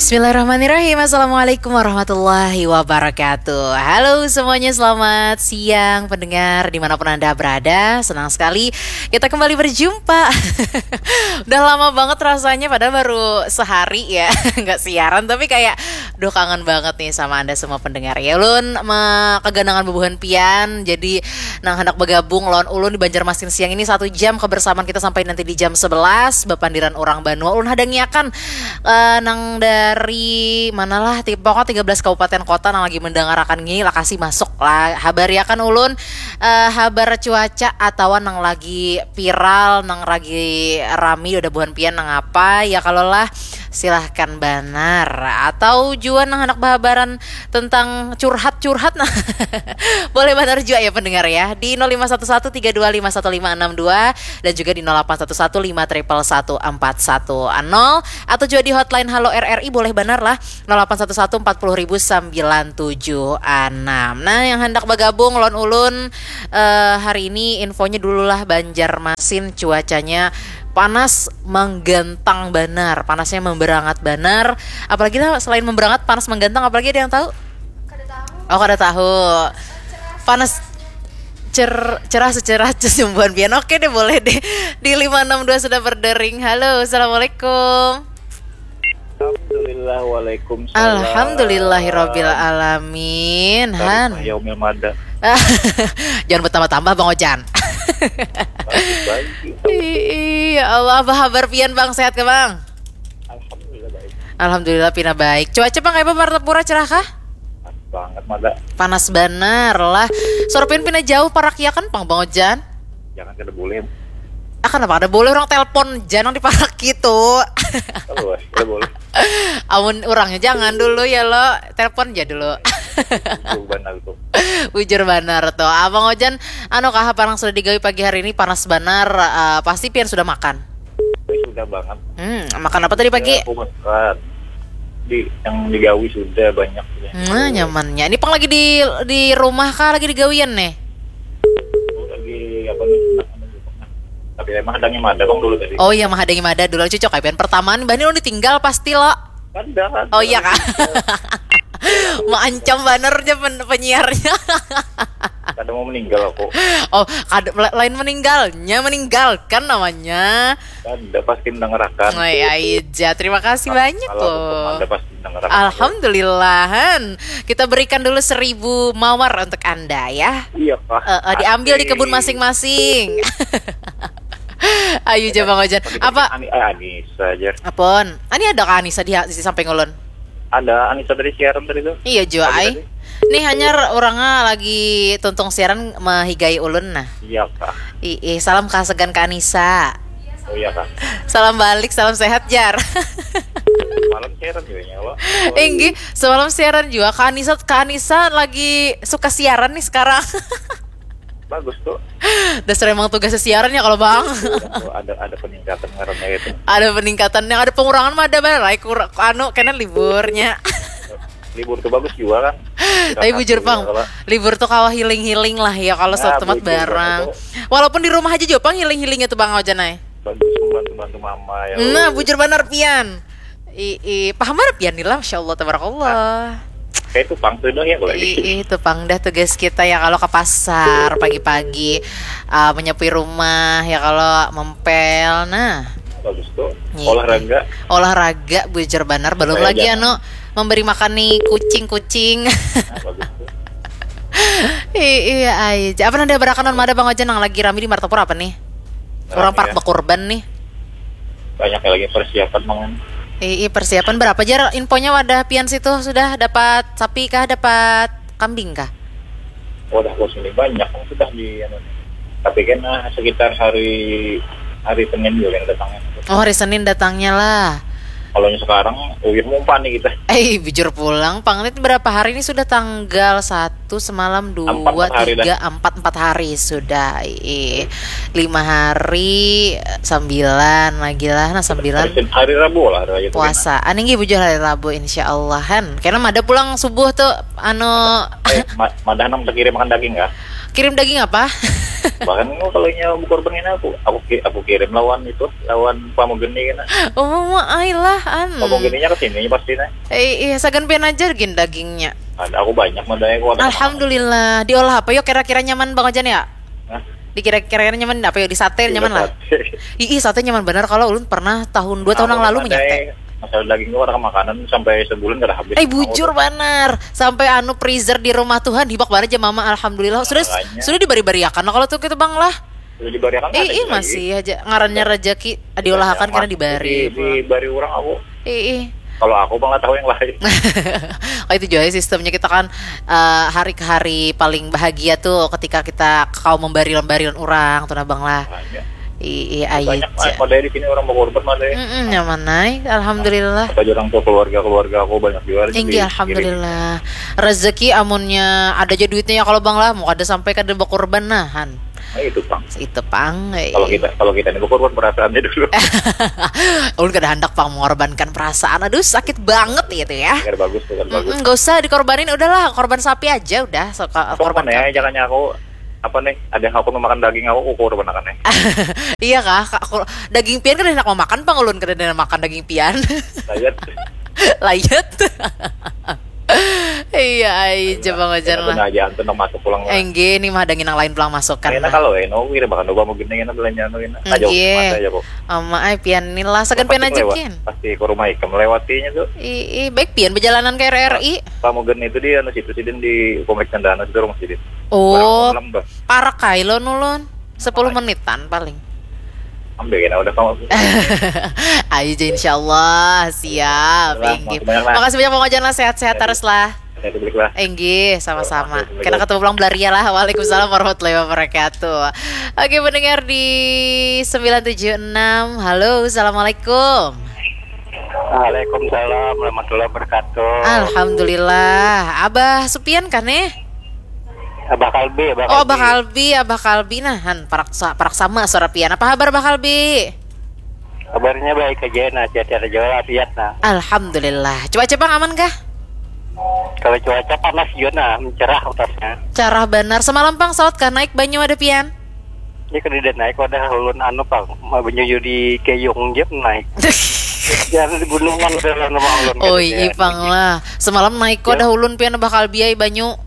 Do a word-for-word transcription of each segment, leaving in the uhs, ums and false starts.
Bismillahirrahmanirrahim. Assalamualaikum warahmatullahi wabarakatuh. Halo semuanya, selamat siang pendengar dimanapun Anda berada. Senang sekali kita kembali berjumpa. Udah lama banget rasanya, padahal baru sehari ya nggak siaran, tapi kayak, duh, kangen banget nih sama Anda semua pendengar ya. Ulun me- keganangan bubuhan pian, jadi nang hendak bergabung lawan ulun di Banjarmasin siang ini satu jam kebersamaan kita sampai nanti di jam sebelas, bapandiran orang banua. Ulun hadangiakan eh, nang dari manalah ti pokok tiga belas kabupaten kota nang lagi mendangarakan ngini, lakasi masuk lah, habariakan ulun eh, habar cuaca atawa nang lagi viral, nang lagi rami udah buhan pian nang apa ya. Kalau lah, silahkan banar, atau jua nang hendak bahabaran tentang curhat-curhat, nah, boleh banar jua ya pendengar ya, di nol lima satu satu tiga dua lima satu lima enam dua dan juga di nol delapan satu satu lima triple satu empat satu nol, atau juga di hotline Halo R R I boleh banar lah, nol delapan satu satu empat puluh ribu sembilan tujuh enam. Nah, yang hendak bergabung lawan ulun eh, hari ini, infonya dulu lah, Banjarmasin cuacanya panas menggantang banar, panasnya memberangat banar. Apalagi lah, selain memberangat, panas menggantang, apalagi ada yang tahu? Oh, kada tahu. Panas cer cerah secerah cesumbuhan pian. Oke deh, boleh deh. Di lima enam dua sudah berdering. Halo, assalamualaikum. Alhamdulillah, waalaikumsalam. Alhamdulillahirabbil alamin. Han. Yaumil mada. Jangan bertambah-tambah, Bang Ojan. Baik, baik. Ih, ya Allah, apa kabar pian, Bang? Sehat kah, Bang? Alhamdulillah baik. Alhamdulillah pina baik. Cuaca, Bang, kayak apa, Martapura, cerah kah? Banget mada. Panas banar lah. Suara pian pina jauh, parak ya kan, pang, Bang Ojan? Jangan kada boleh. Ah, kenapa kada boleh, orang telepon jangan diparak gitu. Terus, kada boleh. Amun orangnya jangan dulu ya lo, telepon aja dulu. Itu benar tuh. Bujur banar tuh, Abang Ojan. Anu kah, apa nang sudah digawi pagi hari ini? Panas banar. Eh, pasti pian sudah makan. Tapi sudah banget. Hmm, makan apa tadi pagi? Ya, aku makan. Di yang digawi sudah banyak. Nah, nyamannya. Ini pang lagi di di rumah kah, lagi digawian nih? Aku lagi apa nih? Tapi emang ada yang ada bang dulu tadi. Oh iya, mah ada yang ada dulu, cocok kayak pian pertama nih, bahni ulun ditinggal pasti lo. Ada kan? Oh iya kah? Maancam banar aja pen- penyiarnya. Kada mau meninggal aku. Oh, kada, la- lain meninggalnya, meninggalkan namanya. Ada pasti mendengarkan. Oh iya, iya. Terima kasih banyak Kalau aku loh. Ada pasti mendengarkan. Alhamdulillahan. Kita berikan dulu seribu mawar untuk Anda ya. Iya kah? Eh, eh, diambil di kebun Asik. Masing-masing. Ayo aja, Bang Ojan. Pakai Apa? Ani, eh, Anissa aja. Apon? Ini ada Kak Anissa di, di samping ulun. Ada Anissa dari siaran tadi tuh. Iya jua Tadi, ai. tadi. Nih hanyar orangnya lagi tuntung siaran mehigai ulun nah. Iya kah? Ih, ih, salam kasagan Kak Anissa. Oh iya kah? Salam balik, salam sehat jar. Malam siaran juga ya lo. Inggih, semalam siaran juga Kak Anissa. Kak Anissa lagi suka siaran nih sekarang. Bagus tuh. Dasar emang tugasnya siaran ya kalau bang. Oh, ada ada peningkatan ngarannya itu. Ada peningkatan, yang ada pengurangan mah ada banar lah. Kur anu kena liburnya. Libur tuh bagus juga kan. Tapi bujur pang, Kalau libur tuh kawa healing-healing lah ya kalau Nah, suatu tempat bujur barang. banget Walaupun di rumah aja juga pang healing-healingnya tuh Bang Ojan ai. Bagus membantu-bantu mama ya. Nah, bujur banar pian. I, i, paham banar pian nih lah, masya Allah, tabarakallah. Kayak itu pang tuh dong ya kalau I, i, itu pang dah tugas kita ya kalau ke pasar pagi-pagi, eh, menyapui rumah ya kalau mempel, nah. Bagus tuh. Iya. Olahraga. Olahraga bujur banar, belum Olahraga. Lagi anu memberi makan nih kucing-kucing. Nah, bagus tuh. I, iya aja. Apa nanti berakan mada Bang Ojan yang lagi rame di Martapura apa nih? Orang Rame parak ya. Bekurban nih. Banyak ya lagi persiapan mangan. Ih, ih, persiapan berapa jar infonya wadah pian situ, sudah dapat sapi kah, dapat kambing kah? Wadah bos ini banyak kan sudah di anu. Tapi kan nah, sekitar hari hari Senin juga yang datangnya. Oh, hari Senin datangnya lah. Kalau yang sekarang uyuh mumpah nih kita. Eh, bujur pulang, pang ini berapa hari ini sudah tanggal satu, semalam dua, Empat, empat hari dah. Tiga, empat, empat hari sudah. Ih, lima hari, sembilan lagi lah, nah sembilan Hari, Sen- hari Rabu lah ada aja tuh. Puasa. Aning gih bujur hari Rabu insya Allah kan. Karena mada pulang subuh tuh anu Eh, ma- madah nang terkirim makan daging kah? Kirim daging apa? Bahkan kalau nya berkorban ini aku, aku ki- aku kirim lawan itu, lawan pamogeni kena. Oh, ma ai lah an. Pamogeninya ke sini pasti nah. Eh, iya, sagan pian aja gin dagingnya. Ada aku banyak madanya aku ada. Alhamdulillah. Diolah apa yo kira-kira nyaman bang Ojan ya? Hah? Dikira-kira nyaman apa yo di sate nyaman lah. Ih, ih, sate nyaman benar kalau ulun pernah tahun dua tahun yang lalu menyate. Masalah daging tuh orang makanan sampai sebulan kada habis. Eh bujur benar. Sampai anu freezer di rumah Tuhan hibak banget aja mama alhamdulillah. Sudah Makanya. Sudah dibari-bariakan kalau tuh gitu bang lah. Sudah dibariakan Eh, ada ih lagi. Masih aja ngarannya rezeki diolahkan karena Di, dibari. di bari orang aku. Eh, ih. Kalau aku malah tahu yang lain. Oh itu juga ya sistemnya kita kan eh, hari ke hari paling bahagia tuh ketika kita kau membari-bari orang tuh nah bang lah. Makanya. Ih, ih, ai Banyak ja. Madai di sini orang berkorban Madai. Mm-mm, nyaman naik, alhamdulillah. Apa orang tua keluarga keluarga aku banyak juga. Tinggi alhamdulillah. Rezeki amunnya ada aja duitnya ya kalau bang lah, mau kada sampai kada berkorban nah han. Nah, itu pang. Itu pang. Eh. Kalau kita kalau kita ini berkorban perasaannya dulu. Ulun kada hendak pang mengorbankan perasaan. Aduh sakit banget gitu ya. Biar bagus tuh kan bagus. Mm-mm, gak usah dikorbanin, udahlah korban sapi aja udah. So, ko- Apa korban mana ya kambing. Jangan aku apa nih ada yang aku memakan daging aku aku korban akan nih. Iya kah? Kak, aku- daging pian kada enak memakan pang ulun kada enak makan daging pian. Lihat. Layet. Iya, ai coba ngajar Aku lah. Nah aja antu nak masuk pulang. Enggih, ini mah ada nginang lain pulang masuk kan. Enak kalau eh, no, kira bahkan coba mau gini enak belanja no enak. Nah, jauh Enggih. mata aja kok. Ama ai pian ni lah sagan pian Pasti aja lewat. kin. Pasti ke rumah ikam lewatinya tuh. Ih, ih, baik pian berjalanan ke R R I. Pamugen itu di anu situ sidin di komplek Cendana situ rumah sidin. Oh, Malam bah. Parak kai lo nulun. Sepuluh menitan paling. Ambil kena udah kamu. Ayo aja insyaallah siap. Lah, Enggih. makasih banyak lah. Makasih banyak Bang Ojan lah sehat-sehat terus lah. Saya balik lah. Enggih, sama-sama. Assalamualaikum. Kita ketemu pulang belaria lah. Waalaikumsalam warahmatullahi wabarakatuh. Oke, pendengar di sembilan tujuh enam. Halo, assalamualaikum. Waalaikumsalam warahmatullahi wabarakatuh. Alhamdulillah. Abah Supian kah nih? Abah Kalbi, Abah Oh, Abah Kalbi, Abah Kalbi nah, han parak sa- parak sama suara pian. Apa kabar Abah Kalbi? Kabarnya baik aja nah, sehat-sehat aja lah, sehat nah. Alhamdulillah. Cuaca pang aman kah? Kalau cuaca panas juga nah, mencerah utasnya. Cerah banar. Semalam pang saut kah naik banyu ada pian? Ini kada naik wadah ulun anu pang, mau menyuyu di keyung je naik. Ya di gunungan udah lah nama ulun. Oh iya pang lah. Semalam naik kok dah ulun pian Abah Kalbi ai banyu.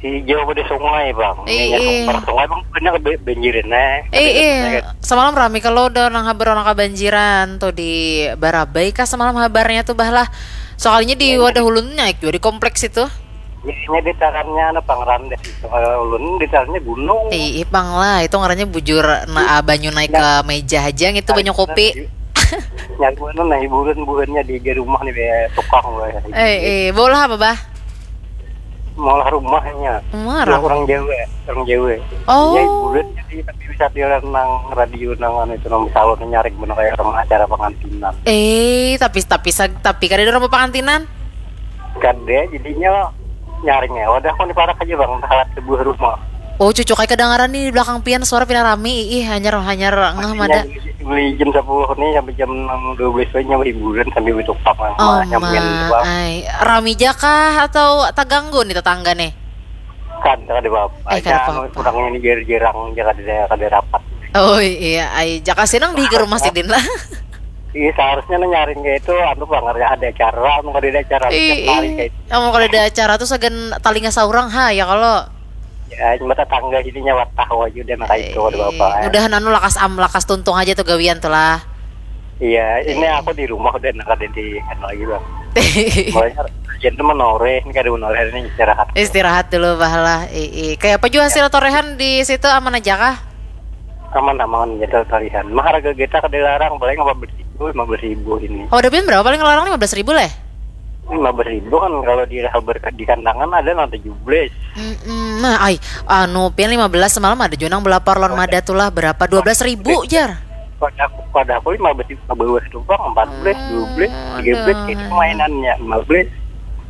Di jauh di sungai bang. Iya. Ini sungai, sungai bang banyak be- banjirin eh. Eh eh. Semalam rami kalau udah nang habar orang kabanjiran tuh di Barabai kah semalam habarnya tuh bah lah. Soalnya di wadah ulun naik juga di kompleks itu. Jadinya ditarannya anu pang randes itu. Kalau ulun ditarannya gunung. Eh, ipang lah, itu ngarannya bujur na banyu naik ke meja aja gitu banyu kopi. Nyari mana nah hiburan buhannya di, di rumah nih be tukang gue. Eh, eh, bola apa bah? Malah rumahnya. Rumah Rumah orang. Orang Jawa, orang Jawa. Oh. Ya hiburan jadi tapi bisa diaran nang radio nang anu itu nang salon nyaring bener kayak orang acara pengantinan. Eh, tapi tapi sag- tapi kada ada orang pengantinan. Kada jadinya nyaring ya. Wadah aku nih parak aja bang, halat sebuah rumah. Oh, cucu kayak kedengaran nih di belakang pian suara pina rami. Ih, hanyar hanyar ngeh mada. Beli jam sepuluh nih sampai jam enam dua belas aja nyawa hiburan sambil betukang Oh, nyampein ma, bang. Ai. Rami jakah atau terganggu nih tetangga nih? Kan kada apa-apa. Eh, kada Anu, apa-apa. Kurangnya ini jarang-jarang aja kada kada rapat. Oh iya, ai jaka sinang di rumah sidin lah. Iya seharusnya nih nyaring kayak itu anu bang ada ada acara anu kada ada acara Ih, setiap hari ih. Kayak itu. Kamu kalau ada acara tuh sagan talinga saurang ha ya kalau. Ya cuma tetangga sini nyawa tahu aja udah nang kayak itu kada apa-apa. Ih, udahan anu lakas am lakas tuntung aja tuh gawian tuh lah. Iya, ini aku di rumah udah nang kada di anu lagi bang. Mulanya hujan tuh menoreh, ini kada menoreh ini istirahat. Istirahat dulu bah lah. Ih, ih. Kayak apa juga hasil torehan di situ aman aja kah? Aman-aman gitu tarihan. Mah harga kita kada larang paling lima belas ribu, lima belas ribu ini. Oh, udah pian berapa paling larang lima belas ribu leh? Lima belas ribu kan kalau di habar di kandangan ada nang tujuh belas. Mm-mm. Nah, ai, anu pian lima belas semalam ada juga nang belapar lawan mada tuh lah berapa? Dua belas ribu jar. Pada pada aku lima belas ribu ke bawah tuh bang, empat belas, dua belas, tiga belas itu mainannya lima belas.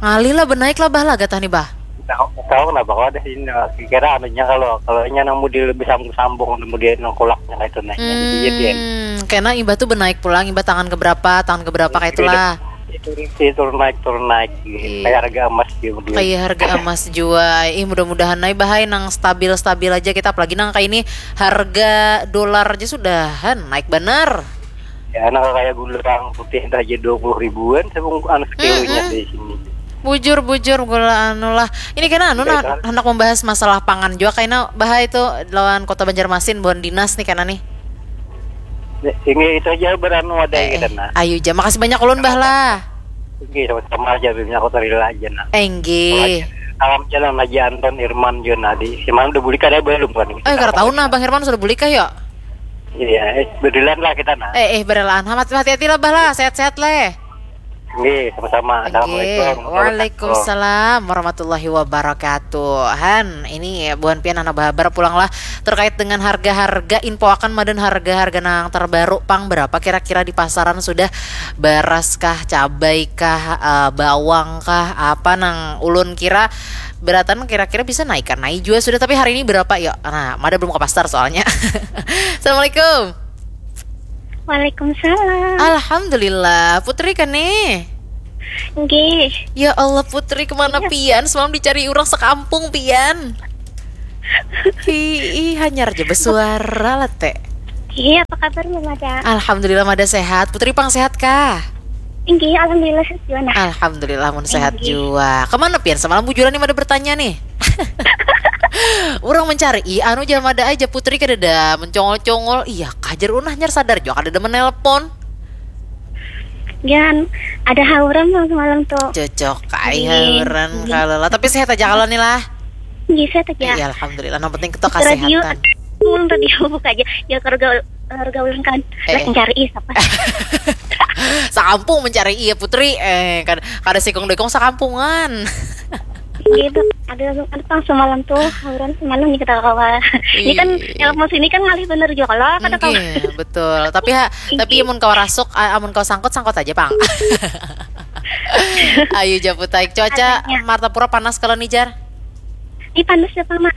Ngalih lah benaik lah bah lah gatah nih bah. Tahu tahu kenapa kau ada sini kira anunya kalau kalau nya nang model lebih sambung sambung kemudian nang kulaknya itu naiknya jadi dia Hmm, kena imbah tuh benaik pulang imbah tangan keberapa tangan keberapa kayak itulah. Turun sih, turun naik, turun naik. Iya. Kayak harga emas gitu. Kayak harga emas jua. Ih, mudah-mudahan ai bahai nang stabil-stabil aja kita, apalagi nang kayak ini harga dolar aja sudahan naik benar. Ya, nah, kayak gula bawang putih aja dua puluh ribuan sebung anu sekilonya. Mm-mm. Di sini. Bujur, bujur, gula anu lah. Ini kena anu nah, hendak membahas masalah pangan juga, kayaknya bahai itu lawan Kota Banjarmasin, buhan dinas nih kena nih. Ini itu aja beranu ada. Eh, kita, eh, nah. Ayu ja, makasih banyak ulun, Bah, lah. Oke, sama-sama aja, Bim. Aku terila aja, nah. Eh, nggih. Salam jalan aja Anton, Irman, Junadi. Si mana udah bulik ada belum, kan? Eh, kada tahu nah, Bang Irman sudah bulik kah, yuk? Iya, eh, berdilan lah kita, nah. Eh, eh, berdilan. Hati-hati lah, Bah, lah. Sehat-sehat, leh. Nggih, sama-sama. Assalamualaikum. Nggih. Waalaikumsalam warahmatullahi wabarakatuh. Han, ini buhan pian anak bahabar pulang lah terkait dengan harga-harga, info akan madan harga-harga nang terbaru pang berapa kira-kira di pasaran sudah, beras kah, cabai kah, eh, bawang kah, apa nang ulun kira beratan kira-kira bisa naik kan naik juga sudah, tapi hari ini berapa ya? Nah, mada belum ke pasar soalnya. Assalamualaikum. Waalaikumsalam. Alhamdulillah, Putri kan nih? Nggih. Ya Allah, Putri, kemana pian? Semalam dicari orang sekampung pian. Ih, hanyar aja bersuara lah, Teh. Iya, apa kabar, Mama? Alhamdulillah, mada sehat. Putri pang sehat kah? Inggih, alhamdulillah sehat jua, nah. Alhamdulillah, mun sehat jua. Kemana pian? Semalam bujuran nih mada bertanya nih. Orang mencari, ih, anu, jam ada aja Putri kadada mencongol-congol. Iya, kajar unah nyar sadar juga kadada menelpon. Jangan ada hauran lah semalam tuh. Cocok, ai hauran kalau lah. Tapi sehat aja kalau nih lah. Iya, sehat aja. Iya, alhamdulillah. Yang penting kita kesehatan. Ngomong radio buka aja. Ya, harga harga ulun kan. Eh. Lah, mencari siapa? Sakampung mencari iya Putri. Eh, kada kada sikung dekong sakampungan. Gitu. Ada ada pang semalam tuh, hauran semalam nih kita kawa. Ini kan yang mau sini kan ngalih bener juga kalau kada kawa. Iya, betul. Tapi ha, tapi mun kawa rasuk, a- amun kawa sangkut, sangkut aja pang. Ayo japut aik. Cuaca Martapura panas kalau nih, Jar. Ini panas ya, Pak, Mak?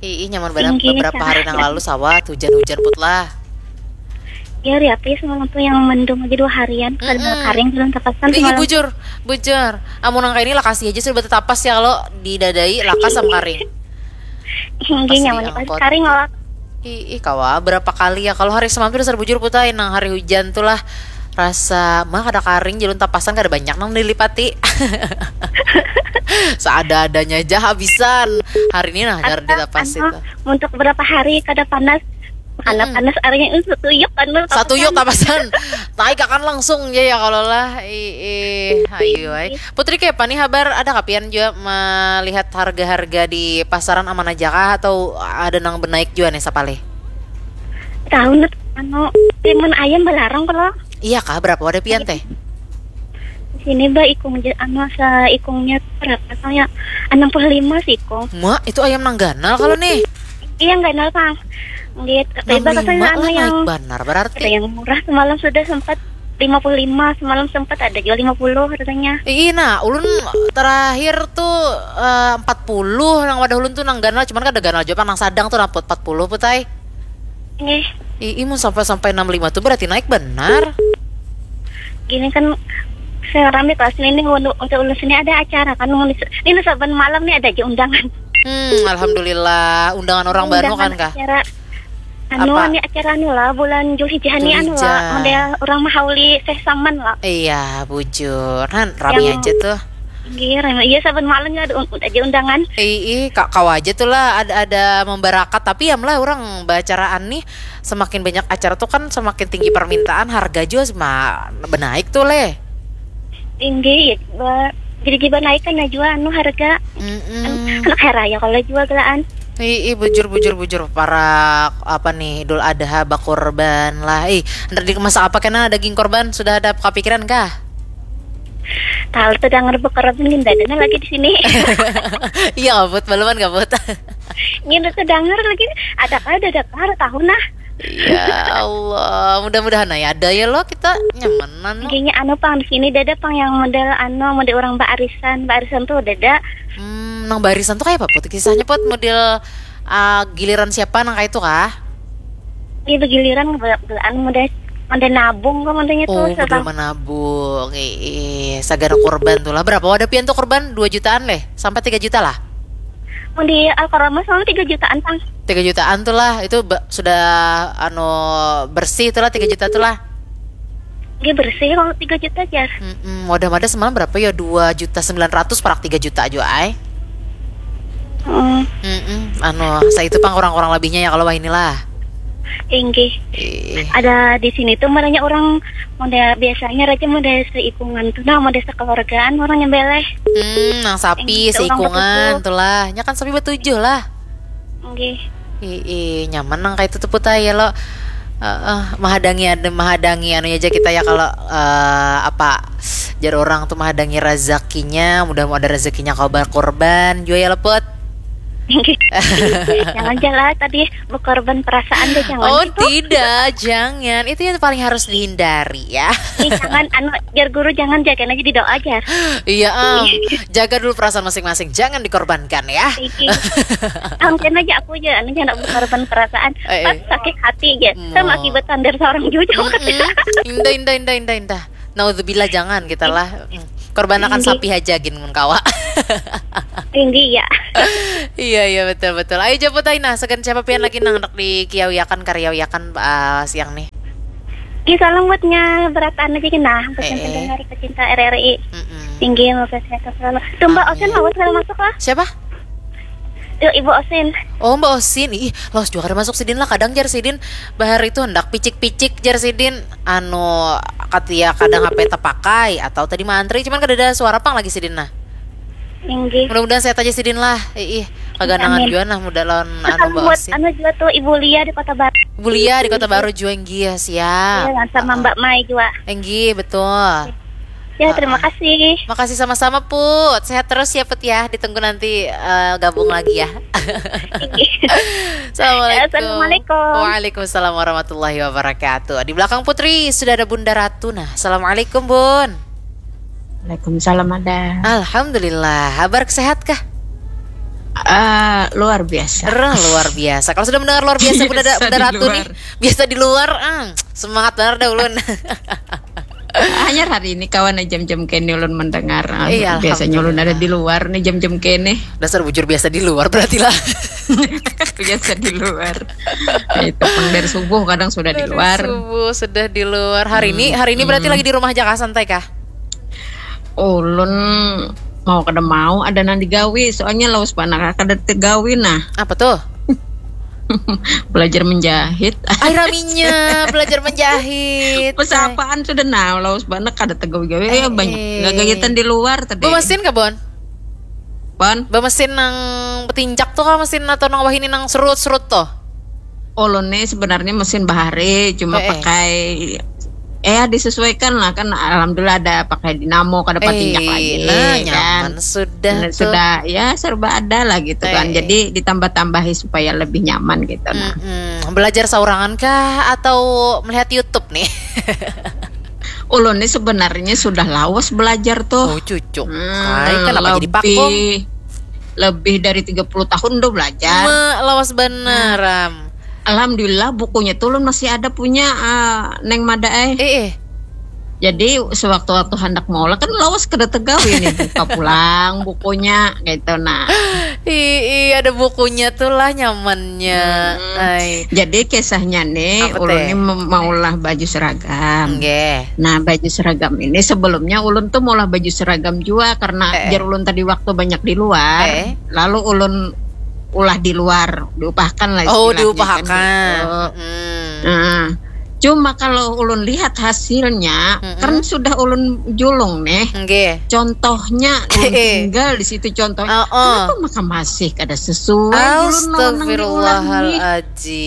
Ih, nyaman banget. Beberapa hari nang lalu sawah hujan-hujan put lah. Ya, hari apa ya semalam tuh yang mendung aja dua harian, kada karing belum tapasan. Iya, bujur, bujur. Amun nang kayak ini lakasi aja sudah tapas ya kalau didadai lakas sama karing. Inggih, nyaman pas karing lah. Ih, ih, kawa berapa kali ya kalau hari semalam tuh dasar bujur putai nang hari hujan tuh lah rasa mah kada karing jalun tapasan kada banyak nang dilipati. Seada-adanya aja habisan. Hari ini nah gara ditapasi tuh. Untuk berapa hari kada panas? Karena panas airnya itu satuyuk kan, satuyuk tapasan. Naik akan langsung ya ya kalau lah. Ih, ih, ayo ai. Putri, kayak apa nih habar? Ada kapian juga melihat harga-harga di pasaran aman aja kah atau ada nang benaik juga nih sapalih? Tahu nih, anu, timun ayam balarang kalau. Iya kah, berapa wadah pian teh? Di sini, Mbak, ikung ja- anu, seikungnya berapa soalnya? Enam puluh lima seikung. Mak, itu ayam nang ganal kalau nih. Iya, ganal, Kang. Gitu. Enam puluh lima lah, anu, naik banar berarti. Ada yang murah semalam sudah sempat lima puluh lima, semalam sempat ada juga lima puluh harganya. Ih, nah, ulun terakhir tuh eh, empat puluh nang wadah ulun tuh nang ganal, cuman kada ganal juga nang sadang tuh naput empat puluh putai. Ih. Ih, mun sampai sampai enam lima tuh berarti naik benar. Gini kan saya rame kelas ini nih untuk, untuk ulun sini ada acara kan ini saban malam nih ada aja undangan. Hmm, alhamdulillah undangan orang baru kan kah? Acara anu, ini acara anu lah, bulan Julhijjah ni anu lah, model orang mahauli seh saman lah. Iya, bujur. Han, rami aja tuh. Iya, rami. Iya, saban malam ya ada un- aja undangan. Ih, ih, ka- kawa aja tuh lah ada ada membarakat, tapi ya lah orang bacaraan nih semakin banyak acara tuh kan semakin tinggi permintaan, harga juga sema- benaik tuh leh. Tinggi ya, ba- jadi jiba naik kan ya juga anu harga. Mm-mm. Anak hari raya kalau juga gelaan. Ih, ih, bujur bujur bujur para apa nih Idul Adha bakurban lah. Ih, ntar di masak apa kena daging korban sudah ada kepikiran kah? Tahu tuh dengar bakurban gini dadanya lagi di sini. Iya kabut, baluman kabut. Gini tuh dengar lagi ada kah ada ada kah tahu nah. Ya Allah, mudah-mudahan ya ada ya lo kita nyamanan lo. Gini anu pang di sini dada pang yang model anu model orang baarisan, baarisan tuh dada. Hmm, nang baarisan tuh kayak apa put kisahnya put model ah, giliran siapa nang kayak itu kah? Iya begiliran be- be- anu model Manda nabung kah mandanya tuh. Oh, model menabung. Ih, sagan kurban tuh lah. Berapa wadah pian tuh kurban? Dua jutaan leh? Sampai tiga juta lah? Mandi Al-Quran mah selalu tiga jutaan, Pang. Tiga jutaan tuh lah. Itu sudah anu bersih tuh lah tiga juta tuh lah. Dia bersih kalau tiga juta aja. Mm-mm. Wadah mada semalam berapa ya? Dua juta sembilan ratus parak tiga juta aja ay. Hmm. Mm-mm. Anu, saya itu pang kurang-kurang lebihnya ya kalau wah inilah. Inggih. Ih. Ada di sini tuh merenya orang model biasanya raja model seikungan tuh nah model sekeluargaan orang nyembelih. Hmm, nang sapi seikungan tuh lah. Nya kan sapi betujuh lah. Inggih. Ih, nyaman nang kayak itu tuh putai ya lo. Uh, uh, mahadangi ada mahadangi anu aja kita ya kalau uh, apa jar orang tuh mahadangi rezekinya mudah mau ada rezekinya kau berkorban juga ya leput. Jangan jalan tadi berkorban perasaan deh jangan. Oh gitu. Tidak, jangan. Itu yang paling harus dihindari ya. Ih, jangan anu biar guru jangan jagain aja di doa aja. Iya, um, jaga dulu perasaan masing-masing. Jangan dikorbankan ya. Hampir aja aku aja anu jangan berkorban perasaan. Eh, eh. Pas sakit hati aja. Sama akibat sandar seorang juga. Indah, indah, indah, indah, indah. Naudzubillah jangan kita lah. Korban akan sapi aja gin mun kawa. Tinggi ya. Iya iya betul betul. Ayo jemput aja nah segan siapa pian lagi nang hendak dikiawiakan karyawiakan uh, siang nih. Ini salam buatnya berataan aja gini nah. Pesan eh, pendengar pecinta R R I. Mm-mm. Tinggi mau sehat selalu. Tuh Mbak Osen mau segala masuk lah. Siapa? Yuk Ibu Osin. Oh Mbak Osin, ih los juga kada masuk sidin lah kadang jar sidin bahar itu hendak picik-picik jar sidin anu katia kadang HP terpakai atau tadi mantri cuman kada ada suara pang lagi sidin nah. Inggih. Mudah-mudahan sehat aja sidin lah. Ih, kaganangan juga nah muda lawan anu Mbak Osin. Anu juga tuh Ibu Lia di Kota Baru. Ibu Lia di Kota Baru juga inggih ya siap. Iya, sama Mbak Mai juga. Inggih, betul. Ya, terima kasih. Makasih sama-sama, Put. Sehat terus ya, Put ya. Ditunggu nanti uh, gabung lagi ya. Assalamualaikum. Assalamualaikum. Waalaikumsalam warahmatullahi wabarakatuh. Di belakang Putri sudah ada Bunda Ratu. Nah, assalamualaikum, Bun. Waalaikumsalam ada. Alhamdulillah. Kabar sehat kah? Uh, luar biasa. Rah, luar biasa. Kalau sudah mendengar luar biasa, Bunda, Bunda Ratu nih, biasa di luar, ah, semangat benar dah ulun. Hanyar hari ini kawan jam-jam kene ulun mendengar. Iya, biasanya ulun ada di luar nih jam-jam kene. Dasar bujur biasa di luar berarti lah. Biasa di luar. Itu pang dari subuh kadang sudah di luar. Subuh sudah di luar. Hari ini hari ini berarti lagi di rumah aja kah santai kah? Ulun mau kada mau ada nang digawi soalnya lawas banar kada tegawi nah. Apa tuh? Belajar menjahit. Ai raminya belajar menjahit. Pesapaan sudah nah lawas banar kada tegawi-gawi. Eh, banyak gagagitan di luar tadi. Bemesin kah, Bon? Bon? Bemesin nang petinjak tuh kah mesin atau nang wahini nang serut-serut tuh? Ulun nih sebenarnya mesin bahari cuma eh, eh. pakai eh disesuaikan lah kan alhamdulillah ada pakai dinamo kada patinjak eh, lagi nah, kan nyaman sudah nah, tuh. Sudah ya serba ada lah gitu eh. Kan jadi ditambah-tambahi supaya lebih nyaman gitu nah. Mm-mm. Belajar saurangan kah atau melihat YouTube nih? Ulun nih sebenarnya sudah lawas belajar tuh. Oh cucuk. Hmm, Hai, kenapa lebih, jadi pakum? Lebih dari tiga puluh tahun udah belajar. Me, lawas benar, hmm. Alhamdulillah bukunya tuh ulun masih ada punya uh, Neng Mada eh. Eh, eh. Jadi sewaktu-waktu hendak maulah kan lawas kada tegawi nih buka pulang bukunya gitu nah. Ih, ada bukunya tuh lah nyamannya. Hmm. Jadi kisahnya nih ulun nih maulah baju seragam. Okay. Nah, baju seragam ini sebelumnya ulun tuh maulah baju seragam juga karena eh. Jar ulun tadi waktu banyak di luar. Eh. Lalu ulun ulah di luar, diupahkan lah. Oh, diupahkan. Kan, gitu. Hmm. Nah, cuma kalau ulun lihat hasilnya mm-hmm. Kan sudah ulun julung nih. Okay. Contohnya ulun tinggal di situ contohnya. Uh-uh. Kenapa maka masih kada sesuai ulun lawan nang di ulah nih.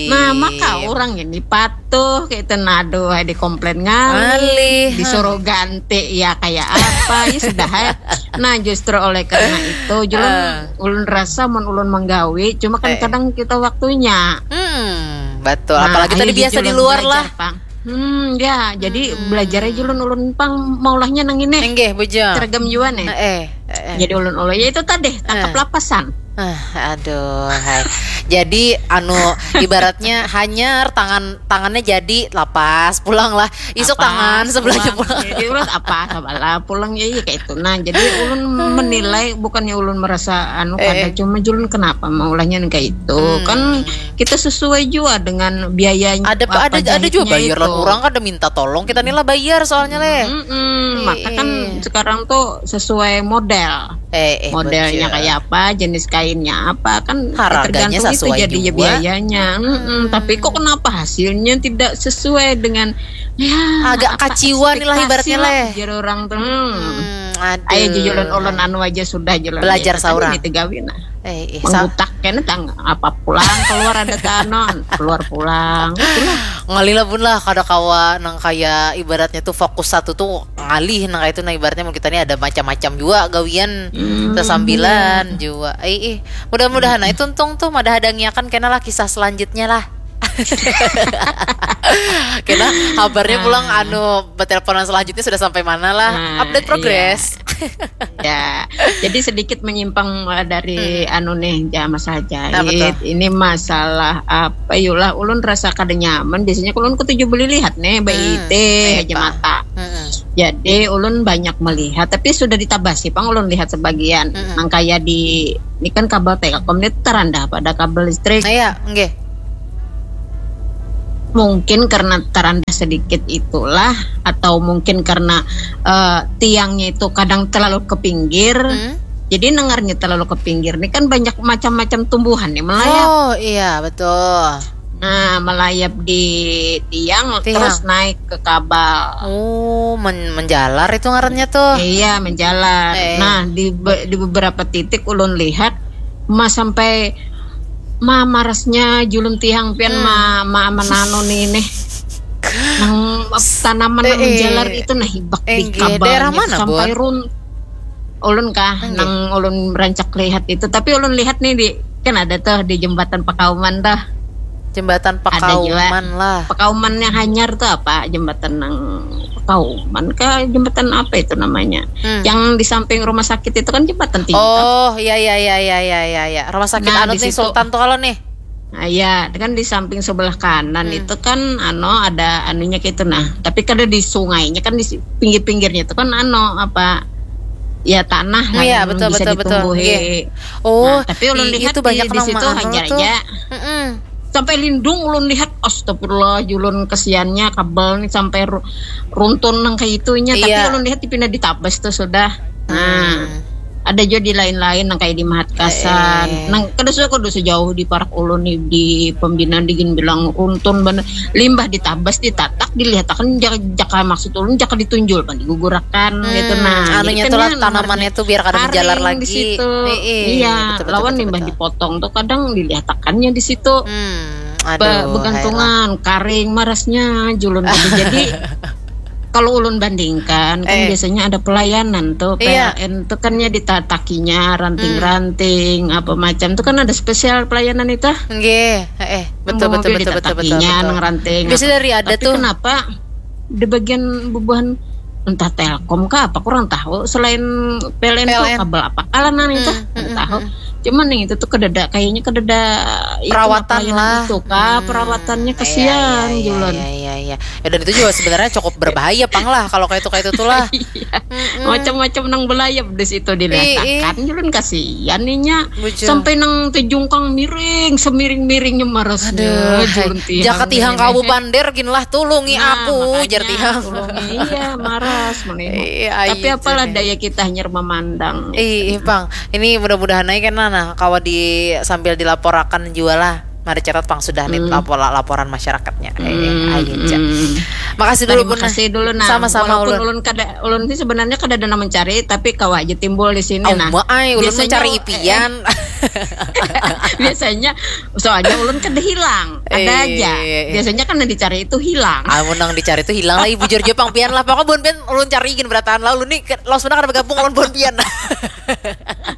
Nah, maka orang ini patuh kayak itu naduh di komplain ngalih, disuruh ganti ya kayak apa ya sudah ya. Nah, justru oleh karena itu julung uh. Ulun rasa mun ulun menggawi cuma kan eh. Kadang kita waktunya. Hmm, betul. Nah, apalagi tadi biasa di luar lah. Pang. Hmm, ya, jadi hmm. Belajar aja ulun ulun pang maulahnya nang ini. Enggih, bujang. Seragam juga nih. Eh, eh, eh. Jadi ulun ulun ya itu tadi tangkap eh. Lapasan. Ah, aduh, hai. Jadi anu ibaratnya hanyar tangan tangannya jadi lapas pulang lah isuk tangan sebelahnya pulang. Jadi urat apa sabalah pulang ya iya kayak itu. Nah jadi ulun menilai bukannya ulun merasa anu kada eh. Cuma julun kenapa maulahnya kayak itu hmm. Kan kita sesuai juga dengan biayanya. Ada ada ada juga bayar lah orang kada minta tolong kita nih lah bayar soalnya leh. Hmm, hmm. Maka kan sekarang tuh sesuai model. Eh, eh, modelnya kayak apa, jenis kainnya apa kan harganya sesuai itu jadi juga. Biayanya. Hmm. Hmm, tapi kok kenapa hasilnya tidak sesuai dengan ya agak kaciwan lah ibaratnya leh. Jadi orang tuh. Hmm. Hmm, ayo jujulan ulun anu aja sudah julan belajar saurang. Itu gawe nah. Eh, eh, menggutak kena tang apa pulang keluar ada tanon keluar pulang. Ngalih lah bun lah kada kawa nang kaya ibaratnya tuh fokus satu tuh ngalih nang itu nah ibaratnya kita ini ada macam-macam juga gawian hmm, sesambilan juga eh, eh. Mudah-mudahan hmm. Itu untung tuh ada hadangiakan kena lah kisah selanjutnya lah. Kena kabarnya pulang ah. Anu berteleponan selanjutnya sudah sampai mana lah ah, update progress iya. Ya jadi sedikit menyimpang eh, dari hmm. Anu nih jamaah saja ini masalah apa yulah ulun rasa kada nyaman biasanya ulun ketujuh beli lihat nih baik hmm. Aja mata hmm. Jadi ulun banyak melihat tapi sudah ditabasi pang ulun lihat sebagian hmm. Nang kaya di ini kan kabel Telkom ini terandah pada kabel listrik. Iya, enggak. Mungkin karena terandah sedikit itulah atau mungkin karena uh, tiangnya itu kadang terlalu ke pinggir. Hmm. Jadi nengarnya terlalu ke pinggir ini kan banyak macam-macam tumbuhan nih melayap. Oh iya betul. Nah, melayap di tiang, tiang terus naik ke kabel. Oh, men menjalar itu ngarannya tuh. Iya, menjalar. Eh. Nah, di di beberapa titik ulun lihat mas sampai ma marasnya julun tiang pian hmm. ma ma mananu nih nih. Nang tanaman eh, nang eh. Menjalar itu nah hibak eh, di kabel. Daerah mana, sampai run ulun kah nang ulun rancak lihat itu tapi ulun lihat nih di kan ada tuh di jembatan Pakauman tuh jembatan Pakauman lah Pakauman yang hanyar tuh apa jembatan nang Pakauman kah jembatan apa itu namanya hmm. Yang di samping rumah sakit itu kan jembatan tinggi oh iya iya iya iya iya iya ya. Rumah sakit nah, anu nih Sultan tuh kalau nih Nah, ya kan di samping sebelah kanan hmm. Itu kan ano ada anunya gitu nah tapi kada di sungainya kan di pinggir-pinggirnya itu kan ano apa ya tanah lah ya, yang betul, bisa betul, ditumbuhi. Betul. Oh, nah, tapi ulun lihat itu di, banyak di situ hanya aja. Mm-mm. Sampai lindung ulun lihat astagfirullah julun kesiannya kabel nih sampai ru- runtun nang kayak itunya iya. Tapi ulun lihat dipindah di tabas tuh sudah. Nah. Hmm. Ada juga di lain-lain nang kayak di Mahatkasan. Eh. Nang kada suka kudu sejauh di parak ulun nih di pembinaan digin bilang runtun bener. Limbah ditabas ditatak dilihatakan jaka, jaka maksud ulun jaka ditunjul pan digugurakan hmm, gitu nah. Anunya tuh lah tanamannya tuh biar kada menjalar lagi. Di situ. Eh, eh, iya, betul, betul, lawan betul, limbah betul. Dipotong tuh kadang dilihatakannya di situ. Hmm, aduh, begantungan, karing marasnya julun tadi. Jadi kalau ulun bandingkan kan eh. Biasanya ada pelayanan tuh iya. P L N tuh kan ya ditatakinya ranting-ranting hmm. Apa macam tuh kan ada spesial pelayanan itu nggih eh betul betul betul betul betul nang ranting biasa dari ada tapi tuh kenapa di bagian bubuhan entah telkom kah apa kurang tahu selain P L N, P L N. Tuh kabel apa kalanan itu hmm, hmm, tahu hmm. Cuman nih itu tuh kedada kayaknya kedada perawatan lah itu kah hmm. Perawatannya kesian iya, iya, iya, iya, iya. Ya, dan itu juga sebenarnya cukup berbahaya pang lah kalau kayak itu kayak itu tuh lah iya. Macam-macam nang belayap di situ diletakkan julun kasihan ninya sampai nang tejungkang miring semiring-miringnya marasnya julun tihang jaka tihang kawu bander gin lah tulungi nah, aku jar tihang tulungi iya maras menengok iya, tapi apalah daya kita hanyar memandang iya pang ini mudah-mudahan aja kan nah kawa di sambil dilaporakan juga lah Mari catat pang sudah nih hmm. laporan masyarakatnya. Eh, hmm. Ayo, hmm. Makasih dulu Bun. Makasih dulu nah. Sama-sama Walaupun ulun. Ulun kada ulun sih sebenarnya kada ada mencari tapi kawa aja timbul di sini oh, nah. Maai, ulun mencari ipian. Eh, biasanya soalnya ulun kada hilang. Ada eh, aja. Biasanya kan yang dicari itu hilang. Amun yang dicari itu hilang lah ibu jurjo pang pian lah. Pokoknya Bun pian ulun cari gin berataan lah ulun nih langsung kada bergabung ulun Bun pian.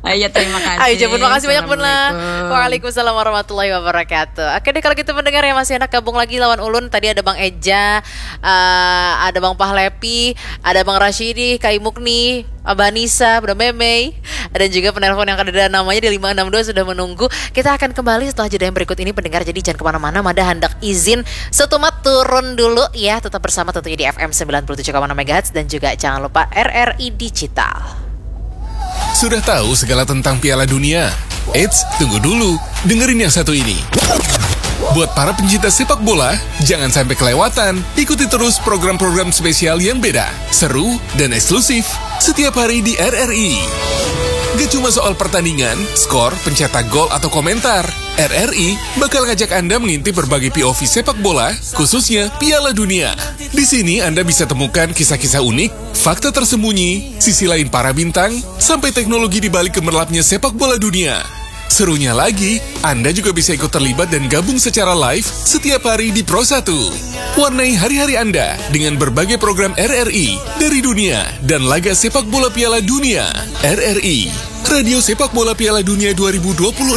Ayo terima kasih. Ayo jemput makasih banyak Bun lah. Waalaikumsalam warahmatullahi wabarakatuh. Oke deh kalau gitu mendengar ya masih enak gabung lagi lawan ulun. Tadi ada Bang Eja, uh, ada Bang Pahlepi, ada Bang Rashidi, Kai Mukni, Abah Nisa, Bunda Memei, dan juga penelpon yang ada namanya di lima enam dua sudah menunggu. Kita akan kembali setelah jeda yang berikut ini, pendengar. Jadi jangan kemana-mana, Mada handak izin setumat turun dulu ya. Tetap bersama tentunya di F M sembilan puluh tujuh koma enam megahertz dan juga jangan lupa R R I Digital. Sudah tahu segala tentang Piala Dunia? Eits, tunggu dulu. Dengerin yang satu ini. Buat para pencinta sepak bola, jangan sampai kelewatan. Ikuti terus program-program spesial yang beda, seru, dan eksklusif setiap hari di R R I. Gak cuma soal pertandingan, skor, pencetak gol, atau komentar. R R I bakal ngajak Anda mengintip berbagai P O V sepak bola, khususnya Piala Dunia. Di sini Anda bisa temukan kisah-kisah unik, fakta tersembunyi, sisi lain para bintang, sampai teknologi di balik gemerlapnya sepak bola dunia. Serunya lagi, Anda juga bisa ikut terlibat dan gabung secara live setiap hari di Pro satu. Warnai hari-hari Anda dengan berbagai program R R I dari dunia dan laga sepak bola Piala Dunia. R R I, Radio Sepak Bola Piala Dunia dua ribu dua puluh enam.